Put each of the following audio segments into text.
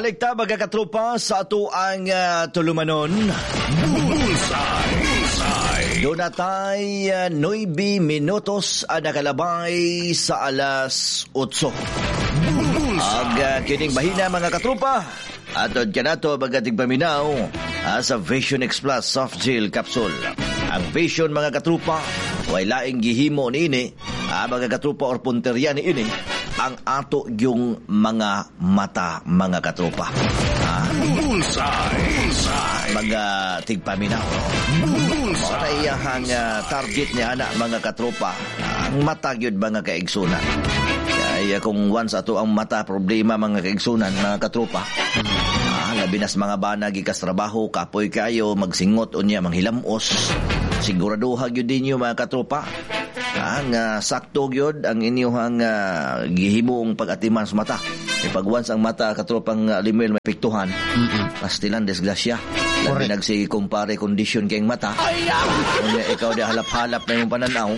Balik ta, mga katropa, sa ato ang tulumanon. Bullseye. Bullseye. Doon natay 9 minutos ang nakalabay sa alas 8. Ag kining bahina, mga katropa, atod kanato mga tigpaminaw sa Vision X Plus Soft Gel Capsule. Ang Vision, mga katropa, way laing gihimo niini, mga katropa, or punteriya niini ang ato yung mga mata, mga katropa. Bullseye. Bullseye. Mga tigpaminaw. Bullseye. Mao iyahang target niya ana, mga katropa. Ang mata gyud, mga kaigsunan. Kaya kung once ato ang mata problema, mga kaigsunan, mga katropa. Labi nas mga bana gikas trabaho, kapoy kayo, magsingot unya manghilamos. Siguraduha gyud ninyo, mga katropa. Ang sakto gyud ang inyong gihimong pag-atiman sa mata. E pag once ang mata, katropang Limuel, may piktuhan, pastilan disgrasya. Labi nag si kumpare condition kayong mata. Unya ikaw di halap-halap na yung pananaw.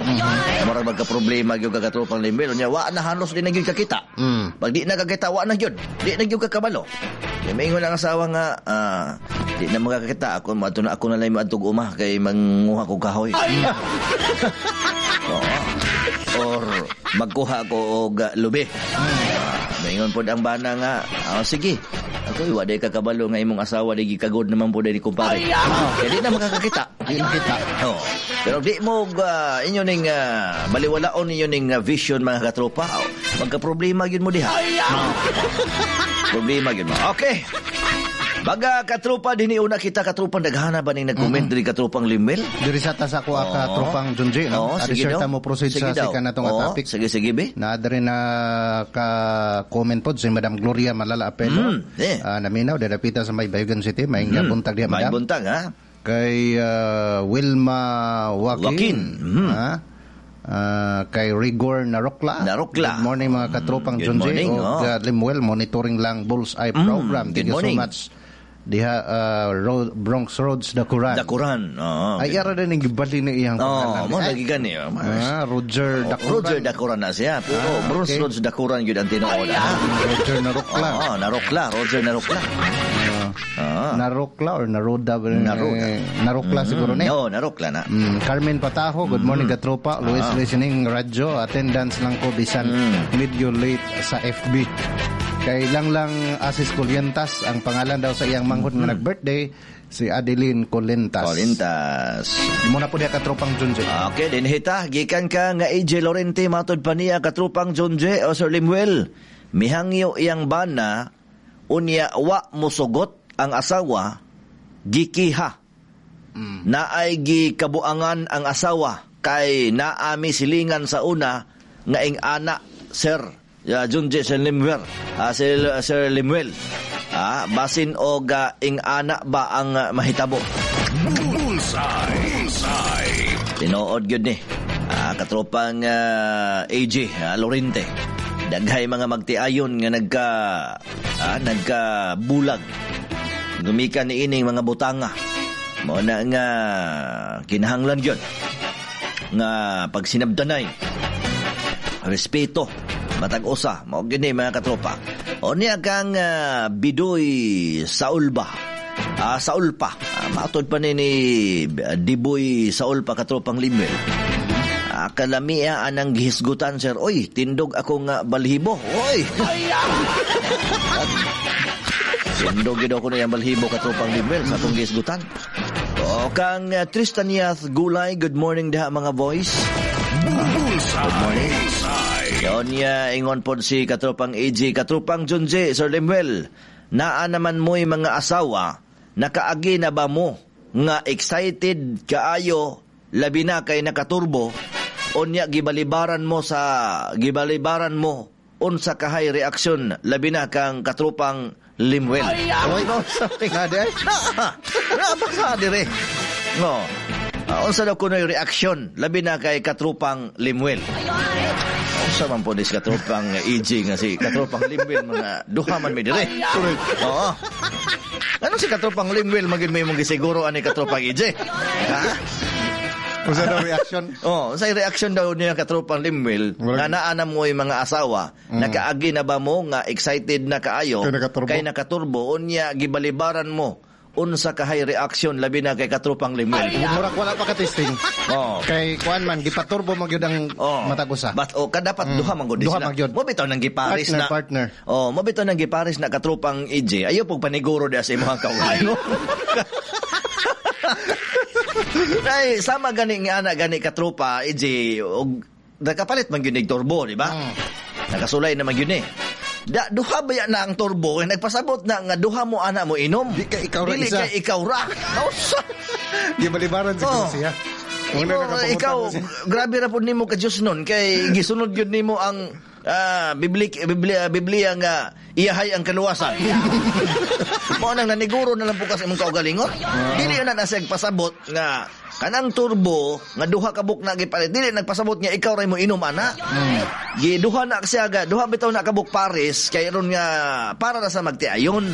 Murag magka-problema gyud ka, katropang Limuel. Unya wa na halos di na gyud kakita. Pag di na kakita, wa na gyud. Di na gyud kakabalo. Kaya maingon ang asawa nga, di na makakita. Ako, maadto na, ako na lang maadtog uma kay manguha ko kahoy. Oo. Or magkuha ko og lubi. Maingon pod ang bana nga, sige. Ako, wa day kakabalo nga imong asawa di gikagod naman po ni kumpare. Kaya di na makakakita. Di makita. Oo. Pero di mo inyo ning baliwalaon ninyo ning vision, mga katropa. Oh, magka-problema gyud mo diha. Problema gyud mo. Okay. Baga katropa, dinhi una kita, katropa, daghana ba ning nag-comment diri, katropang Limel? Diri sa ta sa kuha, ka tropang Junji, no? Oo, Adi sige sure daw. ta mo proceed Sige sa daw. sikan natong Oo, topic. Sige, sige, be. Na diri na ka comment pod si Madam Gloria Malala Apelo. Naminaw dapita sa may Bayugan City, may buntag diha, May Madam. buntag ha. Kay Wilma Joaquin. Joaquin. Ha? Kay Rigor Narokla. Narokla. Good morning, mga katropang Good Junji morning, o oh. Limuel, monitoring lang Bullseye program. Good Thank you so morning. much. Diha Road, Bronx Roads Dakuran. Dakuran. Oo. Ay, ara din ang gibali na iyang Oh, pangalan. mo Ay, lagi gani. Roger Dakuran. Roger Dakuran na siya. Pero Bruce Rhodes Dakuran gyud ang tinuod. Roger Narokla. Oo, Narokla, Roger Narokla. Narokla or Naroda? Naroda. Narokla siguro ni. Oo, Narokla na. Carmen Patajo, good morning, katropa. Luis listening radyo, attendance lang ko bisan medyo late sa FB. Kay lang lang Asis Colientas, ang pangalan daw sa iyang manghod nga nag-birthday, si Adeline Colentas. Colintas. Muna po diya, katropang Junji. Okay, din hita, gikan ka nga AJ Lorente, matod pa niya, katrupang John J. o Sir Limuel. Mihangyo iyang bana, unya wa musugot ang asawa, gikiha. Naay gikabuangan ang asawa kay naami silingan sa una nga ing ana, Sir John J. Sir Limuel, Sir Limuel. Basin og ing ana ba ang mahitabo? Bullseye. Bullseye. Tinuod gyud ni. Katropang AJ Lorente. Daghay mga magtiayon nga nagka bulag. Gumikan ni ining mga butanga. Mao na nga kinahanglan gyud nga pagsinabdanay, respeto matag usa, mao gyud ni, mga katropa. O niya kang Bidoy Saulba. Saulpa. Mautod pa ni Diboy Saulpa, katropang Limel. Kalamia anang gihisgutan, sir. Oy, tindog ako nga balhibo. Oy. Tindog gid ako na yung balhibo, katropang Limel, sa atong gihisgutan. O kang Tristan Yath Gulay, good morning diha, mga boys. Bullseye. Good morning. Bullseye. Yon niya, ingon pod si katropang AJ, katropang Junje, Sir Limuel, naa naman mo'y mga asawa, nakaagi na ba mo nga excited kaayo, labi na kay nakaturbo, unya gibalibaran mo, unsa kahay reaksyon, labi na kang katropang Limuel? Oy, no, sorry. Na di ay. Na, basta dire. No. Unsa daw kuno'y reaksyon, labi na kay katropang Limuel? Unsa man po dis katropang EJ nga si katropang Limuel, mga duha man mi dire. Oo. Ano si katropang Limuel magin may mong gisiguro ani katropang EJ? Ha? Unsa daw reaction? Oh, sa reaction daw niya, katropang Limuel, nga naa na mo yung mga asawa, nakaagi na ba mo nga excited na kaayo Kay nakaturbo? Kay nakaturbo, unya gibalibaran mo, unsa kahay reaction, labi na kay katropang Limuel? Murag wala pa ka-testing. Kay kuan man, gipaturbo man gyud ang matag usa. But oh, kadapat duha man gud Duha sila. man gyud. Mo bitaw nang giparis Partner, na. partner. Oh, mo bitaw nang giparis na, katropang EJ. Ayo pug paniguro diha sa imong kaugalingon. Ay, sama gani nga ana gani, katropa EJ, og nakapalit man gyud nig turbo, di ba? Nakasulay naman gyud eh. Da, duha ba yan na ang turbo? Kay nagpasabot na nga duha mo ana mo inom. Di kay ikaw ra Dili isa. kay ikaw ra. Nausa. Gibalibaran sa siya. Una nakapangutan ikaw, na siya. Grabe ra pud nimo ka Diyos nun kay gisunod gyud nimo ang Biblia, Biblia nga iyahay ang kaluwasan. Mao nang naniguro na lang po kasi imong kaugalingon. Dili na na siya pasabot nga kanang turbo nga duha ka buk na gipalit. Dili nagpasabot nga ikaw ray mo inom ana. Giduha na siya ga, duha bitaw na kabuk pares kay ron nga para na sa magtiayon.